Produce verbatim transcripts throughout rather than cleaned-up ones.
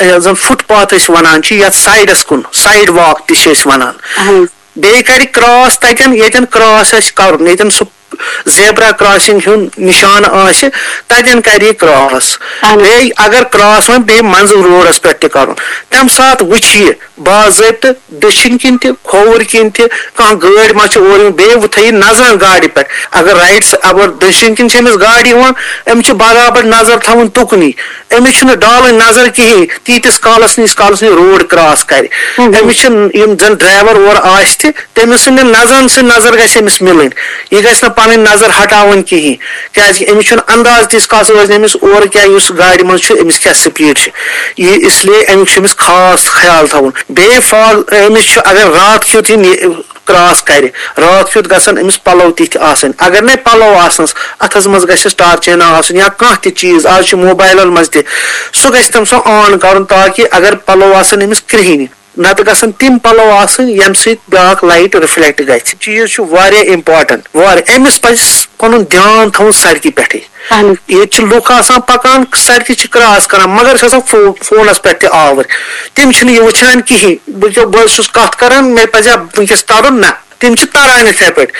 یَتھ زَن فُٹ پاتھ أسۍ وَنان چھِ، یَتھ سایڈَس کُن، سایڈ واک تہِ چھِ أسۍ وَنان۔ بیٚیہِ کَرِ کراس تَتٮ۪ن، ییٚتٮ۪ن کراس آسہِ کَرُن، ییٚتٮ۪ن سُہ زیبرا کراسنگ ہُنٛد نِشانہٕ آسہِ، تَتٮ۪ن کَرِ یہِ کراس۔ بیٚیہِ اگر کراس وۄنۍ بیٚیہِ منٛزٕ روڈَس پٮ۪ٹھ تہِ کَرُن، تَمہِ ساتہٕ وٕچھِ یہِ باضٲبطہٕ دٔچھِنۍ کِنۍ تہِ، کھووُر کِنۍ تہِ، کانٛہہ گٲڑۍ ما چھِ اورٕ یِوان، بیٚیہِ وۄنۍ تھٲیِو نظر گاڑِ پٮ۪ٹھ۔ اگر رایٹ س-، اگر دٔچھِنۍ کِنۍ چھِ أمِس گاڑِ یِوان، أمِس چھِ برابر نظر تھاوٕنۍ تُکنُے۔ أمِس چھُنہٕ ڈالٕنۍ نظر کِہیٖنۍ، تیٖتِس کالَس نہٕ، ییٖتِس کالَس نہٕ یہِ روڈ کراس کَرِ۔ أمِس چھِ یِم زَن ڈرایور اورٕ آسہِ تہِ، تٔمِس سٕنٛدِ نظرَن سۭتۍ نظر گژھِ أمِس مِلٕنۍ۔ یہِ گژھِ نہٕ پَنٕنۍ نظر ہٹاوٕنۍ کِہیٖنۍ، کیٛازِ کہِ أمِس چھُنہٕ انداز تیٖتِس کالَس روزِ نہٕ أمِس اورٕ کیٛاہ، یُس گاڑِ منٛز چھُ، أمِس کیٛاہ سپیٖڈ چھِ۔ یہِ اس لیے اَمیُک چھُ أمِس خاص خیال تھاوُن۔ بیٚیہِ فال، أمِس چھُ اگر راتھ کیُتھ یہِ نہِ-، کراس کرِ، راتھ کیُتھ گژھن أمِس پلو تِتھۍ آسٕنۍ۔ اگر نے پلو آسنس، اتھس منٛز گژھس ٹارچینا آسُن یا کانٛہہ تہِ چیٖز، آز چھُ موبایلن منٛز تہِ، سُہ گژھِ تٔمۍ سُہ آن کرُن، تاکہِ اگر پلو آسن أمِس کرٛہِنۍ، نتہٕ گژھن تِم پلو آسٕنۍ ییٚمہِ سۭتۍ بیٛاکھ لایٹ رِفلیکٹ گژھِ۔ چیٖز چھُ واریاہ امپورٹنٹ، واریاہ۔ أمِس پزِ پنُن دیان تھاوُن سڑکہِ پٮ۪ٹھٕے۔ ییٚتہِ چھِ لُکھ آسان پکان، سڑکہِ چھِ کراس کران، مگر چھِ آسان فو-، فونس پٮ۪ٹھ تہِ آوٕرۍ۔ تِم چھِنہٕ یہِ وٕچھان کِہینۍ۔ بہٕ کیٛاہ، بہٕ چھُس کتھ کران، مےٚ پزِ ہا وٕنکیٚس ترُن؟ نہ، تِم چھِ تران یِتھے پٲٹھۍ۔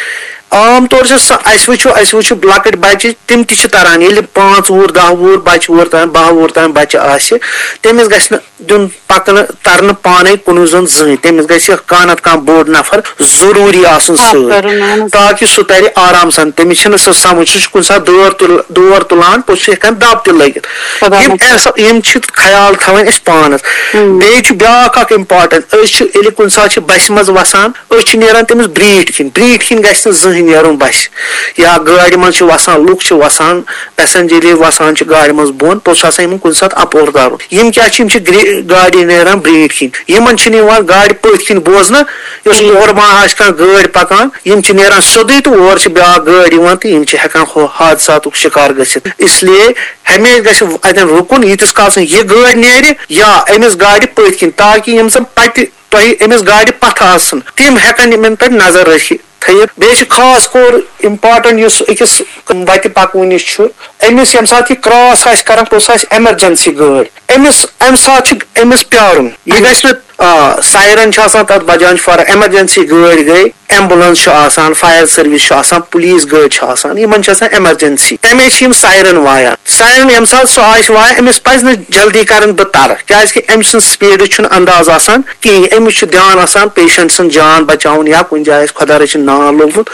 عام طور چھِ سۄ، اسہِ وٕچھو، اسہِ وٕچھو لۄکٕٹۍ بچہِ، تِم تہِ چھِ تران۔ ییٚلہِ پانٛژھ وُہُر، دَہ وُہُر بچہِ، وُہُر تام، باہ وُہُر تام بچہِ آسہِ، تٔمِس گژھِ نہٕ دیُن پکنہٕ ترنہٕ پانے کُنُے زوٚن زٕہٕنۍ۔ تٔمِس گژھِ کانٛہہ نتہٕ کانٛہہ بوٚڑ نفر ضروٗری آسُن سۭتۍ، تاکہِ سُہ ترِ آرام سان۔ تٔمِس چھِنہٕ سُہ سمجھ، سُہ چھُ کُنہِ ساتہٕ دور تُل-، دور تُلان، پوٚتُس چھُ ہٮ۪کان دب تہِ لٔگِتھ۔ یِم احسا-، یِم چھِ خیال تھاوٕنۍ اَسہِ پانس۔ بیٚیہِ چھُ بیٛاکھ اکھ امپورٹنٹ، أسۍ چھِ، ییٚلہِ کُنہِ ساتہٕ چھِ بسہِ منٛز وسان، أسۍ چھِ نیران تٔمِس برٛیٖٹھۍ کِنۍ۔ برٛیٖٹھۍ کِنۍ گژھِ نہٕ زٕہٕنۍ نیرُن بسہِ۔ یا گٲڑِ منٛز چھِ وسان، لُکھ چھِ وسان، پیسنجر ییٚلہِ وسان چھِ گاڑِ منٛز بۄن، پوٚتُس چھُ آسان یِمن کُنہِ ساتہٕ اپور ترُن۔ یِم کیٛاہ چھِ؟ یِم چھِ گرٛے-، گاڑِ نیران برٛیٖٹھۍ کِنۍ۔ یِمن چھِنہٕ یِوان گاڑِ پٔتھۍ کِنۍ بوزنہٕ، یۄس اورٕ ما آسہِ کانٛہہ گٲڑۍ پکان، یِم چھِ نیران سیوٚدُے تہٕ اورٕ چھِ بیٛاکھ گٲڑۍ یِوان تہٕ یِم چھِ ہٮ۪کان ہُہ حادثاتُک شِکار گٔژھِتھ۔ اس لیے ہمیشہِ گژھِ اتٮ۪ن رُکُن، ییٖتِس کالس نہٕ یہِ گٲڑۍ نیرِ یا أمِس گاڑِ پٔتھۍ کِنۍ، تاکہِ یِم زن پتہِ تۄہہِ أمِس گاڑِ پتھٕ آسن، تِم ہٮ۪کن یِمن پٮ۪ٹھ نظر رٔچھِتھ تھٲیِتھ۔ بیٚیہِ چھِ خاص کور امپورٹنٹ یُس أکِس وتہِ پکوٕنِس چھُ، أمِس ییٚمہِ ساتہٕ یہِ کراس آسہِ کران، پوٚتُس آسہِ ایمرجنسی گٲڑۍ، أمِس امہِ ساتہٕ چھُ أمِس پیارُن۔ یہِ گژھِ نہٕ، آ، سایرن چھُ آسان تتھ بجان چھُ فار ایمرجنسی گٲڑۍ گٔے، ایمبولینس چھُ آسان، فائر سروس چھُ آسان، پولیس گٲڑۍ چھِ آسان، یِمن چھِ آسان ایمرجنسی، تمے چھِ یِم سائرن وایان۔ سائرن ییٚمہِ ساتہٕ سُہ آسہِ وایان، أمِس پزِ نہٕ جلدی کرٕنۍ بہٕ ترٕ، کیازِ کہِ أمۍ سُنٛد سپیڈ چھُنہٕ انداز آسان کِہینۍ۔ أمِس چھُ دیان آسان پیشنٹ سُنٛد جان بچاوُن یا کُنہِ جایہِ آسہِ خۄدا رٔچھِنۍ نار لوٚگمُت،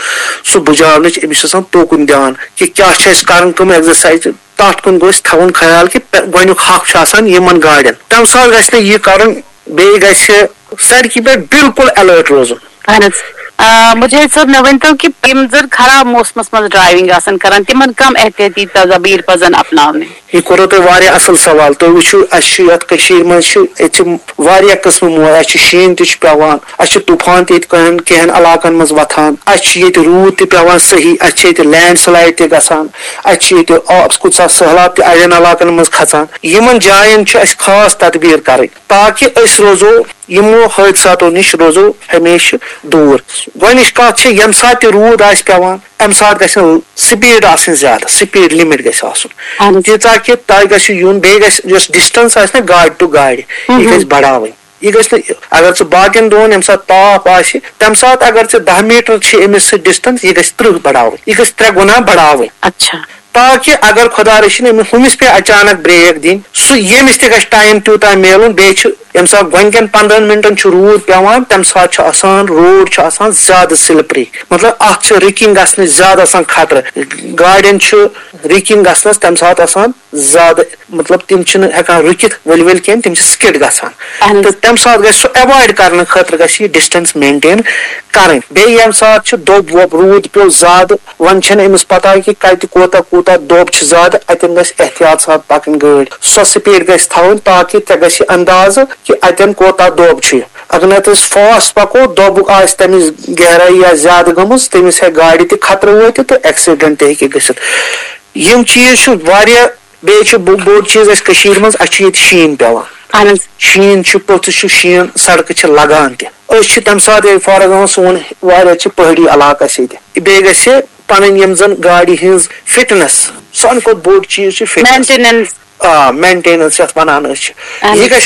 سُہ بُجاونٕچ أمِس چھُ آسان توکُن دیان کہِ کیٛاہ چھِ اَسہِ کرُن، کٕم ایگزرسایز۔ تَتھ کُن گوٚژھ تھاوُن خیال کہِ پے-، گۄڈٕنیُک حق چھُ آسان یِمن گاڑٮ۪ن۔ تَمہِ ساتہٕ گژھِ نہٕ یہِ کرُن، بیٚیہِ گژھِ سڑکہِ پٮ۪ٹھ بالکل الرٹ روزُن۔ اہن حظ۔ آ، مجاہد صٲب، مےٚ ؤنۍ تو کہِ یِم زَن خراب موسمَس منٛز ڈرایونگ آسَن کران، تِمن کم احتیاطی تدابیر پزن اپناونہِ؟ یہِ کوٚروٕ تۄہہِ واریاہ اصل سوال۔ تُہۍ وٕچھِو، اَسہِ چھُ یَتھ کٔشیٖرِ منٛز چھُ ییٚتہِ چھِ واریاہ قٕسمہٕ مو-، اَسہِ چھُ شیٖن تہِ چھُ پٮ۪وان، اَسہِ چھُ طوٗفان تہِ ییٚتہِ کینٛہَن، کینٛہَن علاقن منٛز وۄتھان، اَسہِ چھُ ییٚتہِ روٗد تہِ پٮ۪وان صحیح، اَسہِ چھِ ییٚتہِ لینڈ سلایڈ تہِ گژھان، اَسہِ چھِ ییٚتہِ آ-، کُنہِ ساتہٕ سٔہلاب تہِ اَڑٮ۪ن علاقن منٛز کھژان۔ یِمن جاین چھُ اَسہِ خاص تدبیٖر کرٕنۍ، تاکہِ أسۍ روزو یِمو حٲدثاتو نِش روزو ہمیشہٕ دوٗر۔ گۄڈٕنِچ کَتھ چھِ، ییٚمہِ ساتہٕ تہِ روٗد آسہِ پٮ۪وان، اَمہِ ساتہٕ گژھِ نہٕ سپیٖڈ آسٕنۍ زیادٕ، سپیٖڈ لِمِٹ گژھِ آسُن۔ اہن حظ۔ تیٖژاہ کہِ تۄہہِ گژھِ یُن، بیٚیہِ گژھِ یۄس ڈسٹنس آسہِ نہ گاڑِ ٹُو گاڑِ، یہِ ہُم۔ گژھِ بڑاوٕنۍ۔ یہِ گژھِ نہٕ، اگر ژٕ باقین دۄہن ییٚمہِ ساتہٕ تاپھ آسہِ، تَمہِ ساتہٕ اگر ژےٚ دَہ میٖٹر چھِ أمِس سۭتۍ ڈسٹنس، یہِ گژھِ ترٕٛہ بڑاوٕنۍ، یہِ گژھِ ترٛےٚ گُنا بڑاوٕنۍ۔ اچھا۔ تاکہِ اگر خۄدا رٔچھِنۍ أمِس ہُمِس پیٚیہِ اچانک بریک دِنۍ، سُہ ییٚمِس تہِ گژھِ ٹایم تیوٗتاہ میلُن۔ بیٚیہِ چھُ ییٚمہِ ساتہٕ گۄڈٕنِکٮ۪ن پنٛدہَن مِنٹَن چھُ روٗد پٮ۪وان، تَمہِ ساتہٕ چھُ آسان، روڈ چھُ آسان زیادٕ سِلپری، مطلب اَتھ چھُ رِکِنگ گژھنٕچ زیادٕ آسان خطرٕ۔ گاڑٮ۪ن چھُ رِکِنگ گژھنَس تَمہِ ساتہٕ آسان زیادٕ، مطلب تِم چھِنہٕ ہٮ۪کان رُکِتھ ؤلۍ ؤلۍ کینٛہہ، تِم چھِ سِکِڈ گژھان۔ اہن حظ۔ تہٕ تَمہِ ساتہٕ گژھِ سُہ ایوایڈ کرنہٕ خٲطرٕ گژھِ یہِ ڈِسٹنس مینٹین کرٕنۍ۔ بیٚیہِ ییٚمہِ ساتہٕ چھُ دوٚب ووٚب، روٗد پیوٚو زیادٕ، وۄنۍ چھَنہٕ أمِس پتہ کہِ کَتہِ کوٗتاہ کوٗتاہ دوٚب چھِ زیادٕ، اَتٮ۪ن گژھِ احتیاط سان پَکٕنۍ گٲڑۍ۔ سۄ سپیٖڈ گژھِ تھاوٕنۍ تاکہِ ژےٚ گژھِ اندازٕ کہِ اَتٮ۪ن کوٗتاہ دوٚب چھُ۔ اگر نَتہٕ أسۍ فاسٹ پَکو، دوٚبُک آسہِ تَمِچ گہرائی یا زیادٕ گٔمٕژ، تٔمِس ہٮ۪کہِ گاڑِ تہِ خطرٕ وٲتِتھ تہٕ ایکسیڈنٹ تہِ ہیٚکہِ گٔژھِتھ۔ یِم چیٖز چھِ واریاہ۔ بیٚیہِ چھُ بوٚ-، بوٚڑ چیٖز اَسہِ کٔشیٖرِ منٛز، اَسہِ چھُ ییٚتہِ شیٖن پٮ۪وان۔ اہن حظ۔ شیٖن چھُ، پوٚتُس چھُ شیٖن، سڑکہٕ چھِ لگان تہِ۔ أسۍ چھِ تَمہِ ساتہٕ ییٚلہِ، فار ایگزامپل، سون واریاہ چھِ پہٲڑی علاقہٕ اَسہِ ییٚتہِ۔ بیٚیہِ گژھِ پَنٕنۍ یِم زَن گاڑِ ہٕنٛز فٹنس، سانہِ کھۄتہٕ بوٚڑ چیٖز چھُ فٹنس۔ مینٹیننس۔ آ، مینٹیننس یَتھ وَنان أسۍ چھِ۔ اہن حظ۔ یہِ گژھِ